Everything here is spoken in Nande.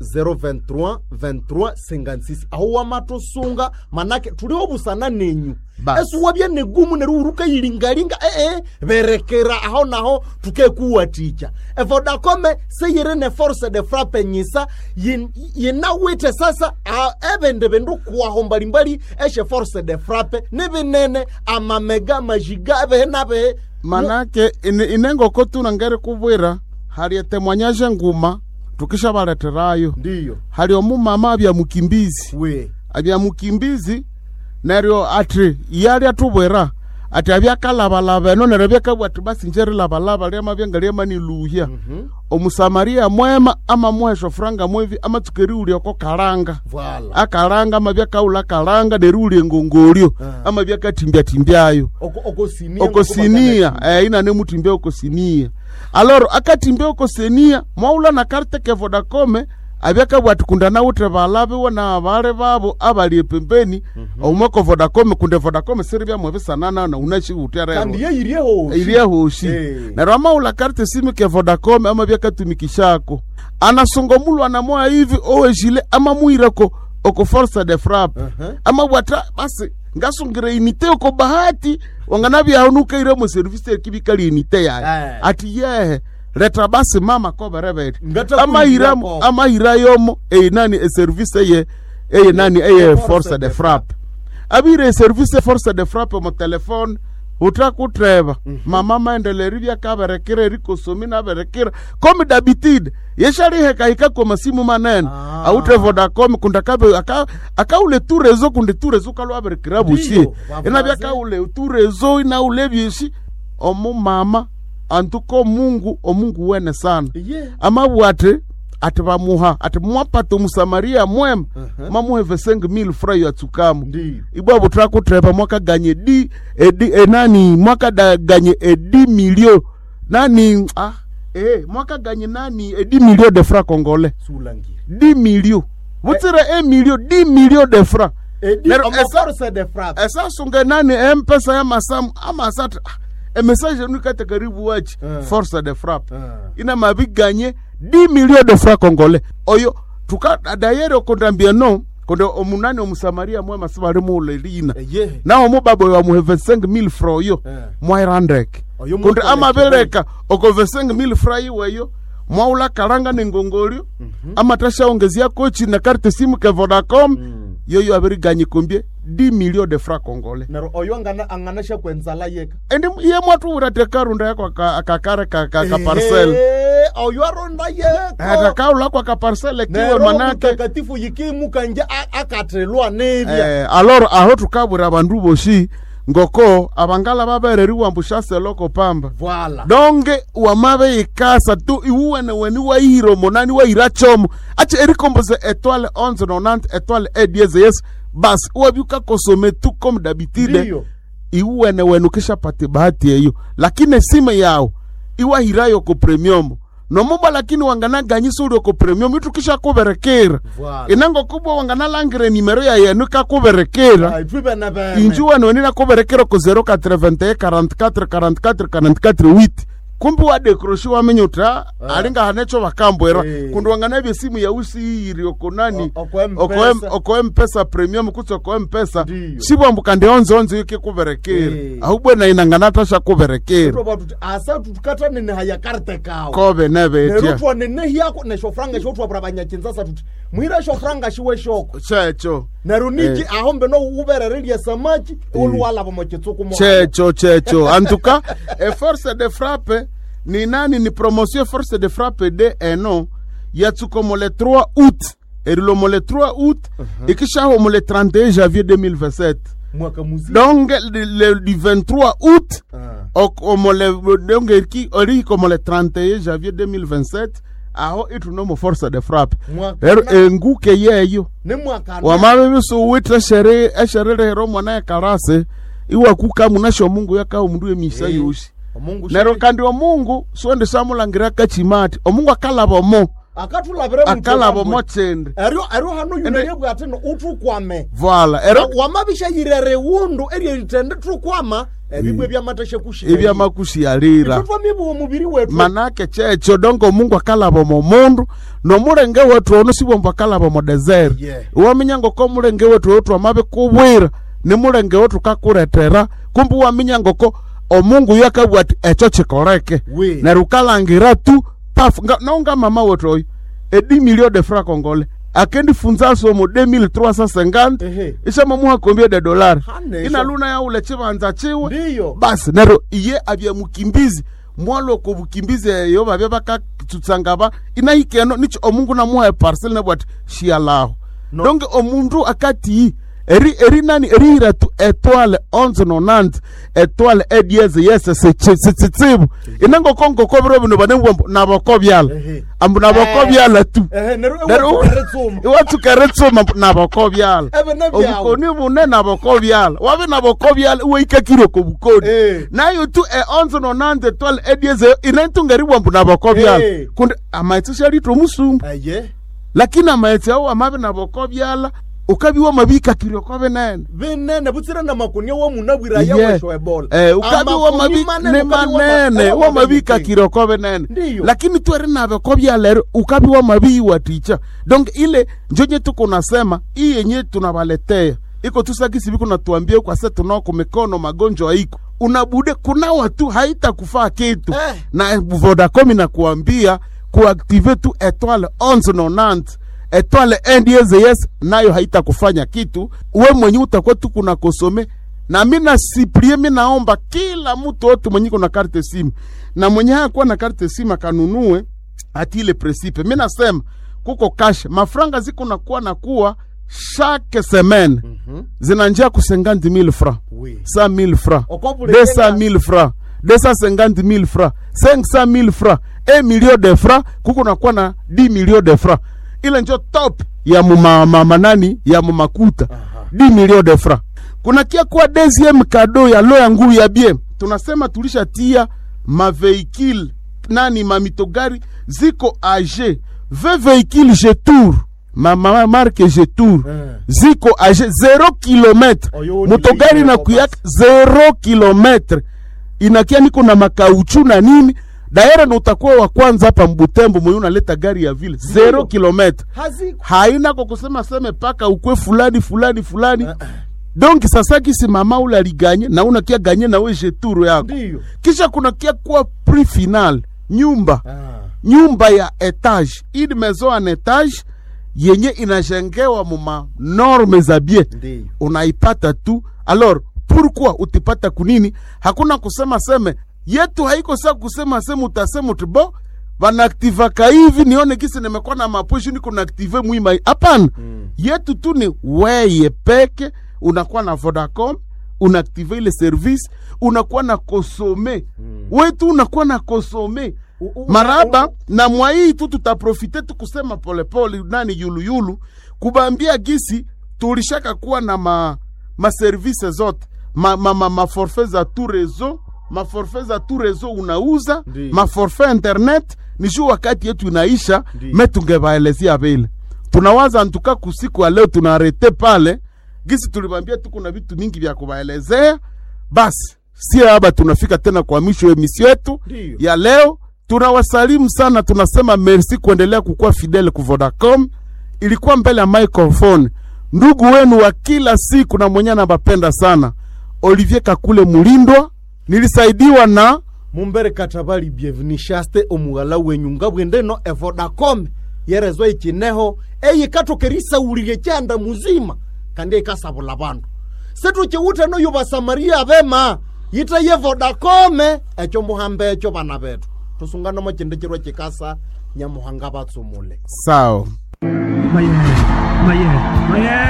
023 23 56 aho wamatusunga, manake tuli obusana nenyu. Basi. Esuwabya negumu neryo uruka yilingalinga ee berekera aho naho tukekuwatikya. Evodacom seyiri ne force de frappe nyisa yinawithe sasa ebindi bindu kuwaho mbalimbali eshe force de frappe nibinene amamega majiga ebihi nabihi. Manake inengoko tunangere kubwira hali etemwanyaje nguma tukishabaleterayo. Ndiyo. Hali omumama abya mukimbizi. We. Abya mukimbizi neryo ati yali atubwira ati abyakalabalaba eno neryo byakabwa ati basi nje rilabalaba lyamabya ngalyamaniluhya. Omusamaria mwema amamuha eshofuranga mwevi amatsuka eriwulya oko kalanga. Voilà. Akalanga amabya kaula kalanga neriwulya engongolyo. Amabya katimbyatimbyayo. Okosinia. Okosinia, inane mutimbya okosinia. Aloro akatimbya okosinia mwaula na carte ke Vodacom abyakabwa ati kunda nawuthe balabiwe na bale babo abali epembeni. Omweko Vodacom kunde Vodacom siri byamwe bisanana na unashiwutya rero. Kandi yeyirie hoshi. Irie hoshi. Neryo amaula carte simu ke Vodacom amabya katumikishako anasunga mulwana moya hivi owejile amamuireko oko force de frappe. Amabwata basi ngasungire inite oko bahati wanganabyaho nukaire mu service ekibikali inite yaye. Ati yehe leta basi mama koberebere. Ngata amahira kuyirirako. Amahira yomo eyinani eservice eye eyinani eye force de frappe abire service force de frappe mu telefone utakutreba. Mama maendeleo byakaberekera erikosomi naberekera comme d'habitude yeshalihekahika kwa masimu manene. Aute Vodacom kunda kabe akaule tu rezo kunde tu rezo kalwaberekera bushi. Ndiyo, bavaze. Ina byakaule tu rezo inaule byeshi omumama antuko Mungu omungu wene sana. Amabwate ati bamuha ati mwapata omusamaria mwema. Mamuhe 25,000 fra yatsukamo. Ndiyo. Ibwa butrakutrepa mwakaganye di edi enani mwakadaganye edi milio nani mwakaganye nani edi milio de francs congolais. Sulangira. Di milio butsire e milio di milio de francs. Edi Neryo omo force de frappe. Esasunga nani empesa ya masamu amasata emessage nukate karibu wachi. Force de frappe. Ina mabiganye 10 millions de francs congolais oyo tuka dayere okondambia no konde omunani omusamaria mwema sibali muule lina. Nawo mubaba oyo amuhe 25,000 francs oyo. Mwairandeke. Oyo konde mukole amabeleka oko 25,000 francs iweyo mwaula kalanga nengongolyo. Amatashaongezia kochi na carte simu ke Vodacom. Yoyo abiriganye kombie 10 millions de francs congolais. Neryo oyo angana anganasha kwenzala yeka. Endi iye mwatuwura tekarunda yako akakare ka parcel. Oyo aronda yeko. Atakaula kwa ka parcel kiwe Neryo manake. mutakatifu yikimukanje akathelwa nebya. Alors aho tukabwira abandu boshi ngoko abangala babereriwa mbushase loko pamba. Voilà. Donge wamabe ikasa tu iwuwene weni wairo monani waira chomo ache erikomboze étoile 1190 étoile e dièse yes bas wabyuka kosome tu comme d'habitude. Ndiyo. Iwuwene wenu kishapate bahati eyo lakini esime yao iwahirayo ko premium nomuba lakini wanganaganyisa uli oko premium itukishakuberekera. Voilà. Inango kubwa wanganalangire nimero ya yenu ikakuberekera. Ai, twibe na bene. Inji wanu wenina kuberekera ko 081 44 44 44 8 kumbi wadekroshi wamenye uta alinga hanecho bakambwera. Kundi wanganabye simu ya usi iri oko nani Oko M-Pesa. oko mpesa premium kutsi oko mpesa. Ndiyo. Sibwambu kandi onze onze yukikuberekera. Ahubwe na inanganata kuberekera. Twa tuti asa tutukatane haya karte kawo. Kobe nebetya. Neryo twanenehiyako neshofranga shotwabura banyakinzasa tuti mwira shofranga shiwe shoko. Checho. Neryo niki aho mbeno ubererelya samaki oluwalaba mokitsuku mo. Checho checho en tout cas e force de frappe ni nani ni promotion force de frappe de eno yatsuko le 3 août erilomo le 3 août ikishaho mo le 31 janvier 2027. Mwaka muzima. Donc le du 23 août omo le donc eriki eriko mo le 31 janvier 2027 aho itunomo force de frappe. Mwaka Rero enguke yeyo. Ne mwaka Wamabe bisuwithe eshere eshererehera omwana ekarase iwakuka munasho Mungu yakawa omundu emisa yosi. Omungu Neryo kandi omungu siwendi samulangira kachima ati omungu akalaba omo. Akatulabire Akalaba omo kindi. Eryo eryo hano yunayebwa ati no uthukwame. Voila, ero Wamabisha yirere wundu eryeritende thukwama ebibwe byamatasha kushira. Ebyamakushialira. Twamibuwa omubiri wetu. Manake checho dongo Mungu akalaba omo mundu nomulenge wetu ono sibwombo akalaba omo desert. Waminya ngoko mulenge wetu oyo twamabikubwira ni mulenge wetu kakuletera, kumbi waminya ngoko omungu oyo akabugha ati ekyo kikoleke. We. Neryo ukalangira tu paf nga, nonga mama wetu oyo e 10 millions de francs congolais akendifunza somo 2350. Isamamuha combien de dollars? Hane, inaluna yaule chibanza chiwe. Ndiyo. Basi neryo iye abya mukimbizi mwaloko bukimbizi eyo babya bakatsutsanga ba inahikeno nicho omungu namuha eparcel nabwati shialaho. No. Donc omundu akati eri eri nani erihira tu étoile 1190 étoile edieze yese setsitsibu inangokongoko biro bino banebwambo nabokobyala. Ambu nabokobyala tu. Neryo Neryo ewatsuma. Iwatsuka eritsuma mbu nabokobyala. Ebe nebyawe. Obukoni bune nabokobyala wabe nabokobyala iwaikakire oko bukoni. Nayo tu e 1190 étoile edieze inentunga eribwambu nabokobyala. Kundi amaghetse syalithwa omusumba. Lakini amaghetse awo amabi nabokobyala ukabiwa mabikakire oko binene. Binene butsire na makunia wa munabwira yawesho ebola. Ukabiwa Amakuni mabi manene, ni ukabiwa manene wamabikakire oko binene. Ndiyo. Lakini tweri nabeko byalero ukabiwa mabiiwaticha donc ile njonye tuko nasema hii yenye tunawaletea iko tusakisi biko natuambia kwa sasa tunao kumikono magonjwa iko unabude kunawa tu haitakufaa kitu. Na Vodacom inakuambia kuactive tu étoile 1190 étoile 1 dièse yes nayo haitakufanya kitu, we mwenye utakuwa tu kuna kosome. Na mi nasiplie, mi naomba kila mtu wote mwenye kuna carte simu na mwenye hakuwa na carte simu akanunue ati ile principe. Mi nasema kuko cash mafranga ziko nakuwa nakuwa chaque semaine zinanjia ku 50 000 francs, 100 000 francs, Okobule 200 000 francs, 250 000 francs, 500 000 francs, 1 million de francs, kuko nakuwa na 10 millions de francs. Ile njo top ya mumamanani ya mumakuta 10 millions de francs. Kuna kia kuwa deuxième cadeau ya lo ya ngulu ya bien, tunasema tulishatia mavéhicule nani mamitogari ziko age 20 véhicules Jetour, ma marque Jetour ziko age 0 kilomètre. Oyo ni Motogari ile na kuyaka 0 kilomètre inakia niko na makauchu na nini daire na utakuwa wa kwanza hapa Mbutembo mwenye unaleta gari ya vile 0 kilomètre. Haziko. Haina kwa kusema seme paka ukwe fulani fulani fulani. Donc sasa kisi mama ule aliganye na unakia ganye na we Jetour yako. Kisha kuna kia kuwa prix final nyumba. Nyumba ya étage, une maison en étage yenye inajengewa muma norme za bien. Unaipata tu. Alors pourquoi utipata kunini? Hakuna kusema seme yetu haiko sa kusema seme utasema uti bo banaaktivaka hivi nione kisi nimekuwa na maposho niko naaktive mwima. Hapana. Yetu tu ni weye peke unakuwa na Vodacom unaaktive ile service unakuwa na kosome wetu unakuwa na kosome maraba na mwaii tu tutaprofite tu kusema polepole nani yuluyulu kubambia gisi tulishaka kuwa na ma maservice zote ma forfait za tout réseau, maforfait za tout réseau unauza. Maforfait internet ni juu wakati yetu inaisha. Me tungebaelezea vile tunawaza ntuka kusiku ya leo tunaarete pale gisi tulibambia tuko na vitu mingi vya kubaelezea. Basi si haba tunafika tena kwa mwisho wa emission yetu ya leo. Tunawasalimu sana, tunasema merci kuendelea kukuwa fidèle ku Vodacom. Ilikuwa mbele ya microphone ndugu wenu wa kila siku na mwenye anabapenda sana, Olivier Kakule Mulindwa, nilisaidiwa na Mumbere Katabali Bienvenue Shaste omughala wenyu ngabwendeno evodacom yerezwa ikineho eyikathokerisa kyanda muzima kandi ikasabula bandu situkiwuthe noyo basamaria bema yite ye Vodacom ekyo muhamba ekyo bana bethu tusungana mo kindi kirwa kikasa Nyamuhanga batsumule. Sawa. Maye, maye, maye.